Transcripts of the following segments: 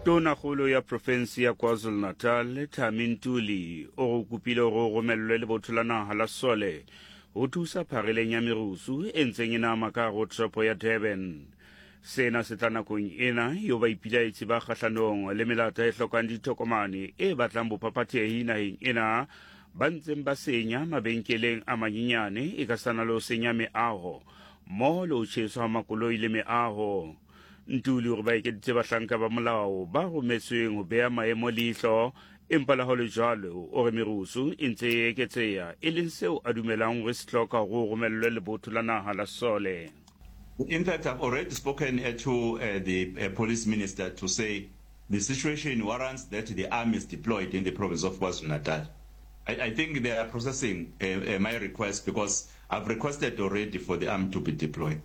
Tonakgolo ya profense ya KwaZulu-Natal, Thami Ntuli, o go kopile gore o romellwe lebotho la naga la sole go thusa phareleng ya merusu e ntseng e nama ka go toropo ya Durban. Sena se tla nakong ena eo baipilaetsi ba kgahlanong le melata e hlokang ditokomane e batlang bophaphathehi naheng ena ba ntseng ba senya mabenkeleng a manyenyane e ka sana le ho senya meaho mmoho le ho tjheswa ha makoloi le meaho. Ntuli o re ba ekeditse bahlanka ba molao ba rometsweng ho beha maemo leihlo, empa le ha ho le jwalo o re merusu e ntse e eketseha, e leng seo a dumelang hore se hloka hore ho romellwe lebotho la naha la sesole. In fact, I've already spoken to the police minister to say the situation warrants that the army is deployed in the province of KwaZulu-Natal. I, I think they are processing my request because I've requested already for the army to be deployed.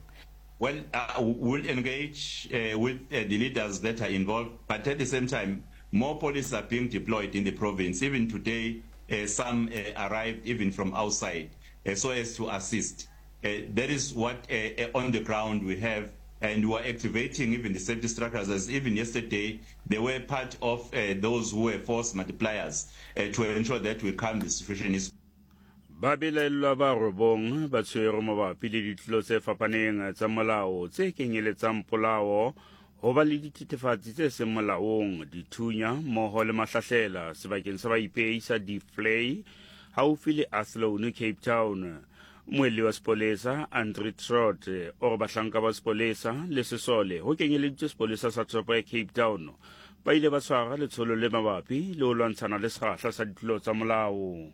Well, we'll engage with the leaders that are involved, but at the same time, more police are being deployed in the province. Even today, some arrived even from outside so as to assist. That is what on the ground we have, and we are activating even the safety structures, as even yesterday they were part of those who were force multipliers to ensure that we calm the situation. Is Babelaellwa ba robong ba tshwerwe mabapi le ditlolo tse fapaneng tsa molao tse kenyeletsang polao, ho ba le dithethefatsi tse seng molaong, dithunya mmoho le mahlahlela sebakeng sa baipei sa Deep-Vlei haufi le Athlone, Cape Town. Mmuelli wa sepolesa Andre Trott o re bahlanka ba sepolesa le sesole ho kenyeleditswe sepolesa sa toropo ya Cape Town ba ile ba tshwara letsholo le mabapi le ho lwantshana le sekgahla sa ditlolo tsa molao.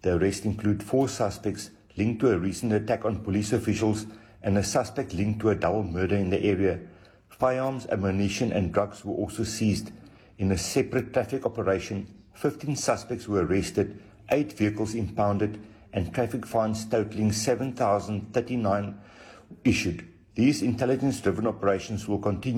The arrests include four suspects linked to a recent attack on police officials and a suspect linked to a double murder in the area. Firearms, ammunition and drugs were also seized. In a separate traffic operation, 15 suspects were arrested, 8 vehicles impounded and traffic fines totaling 7,039 issued. These intelligence-driven operations will continue.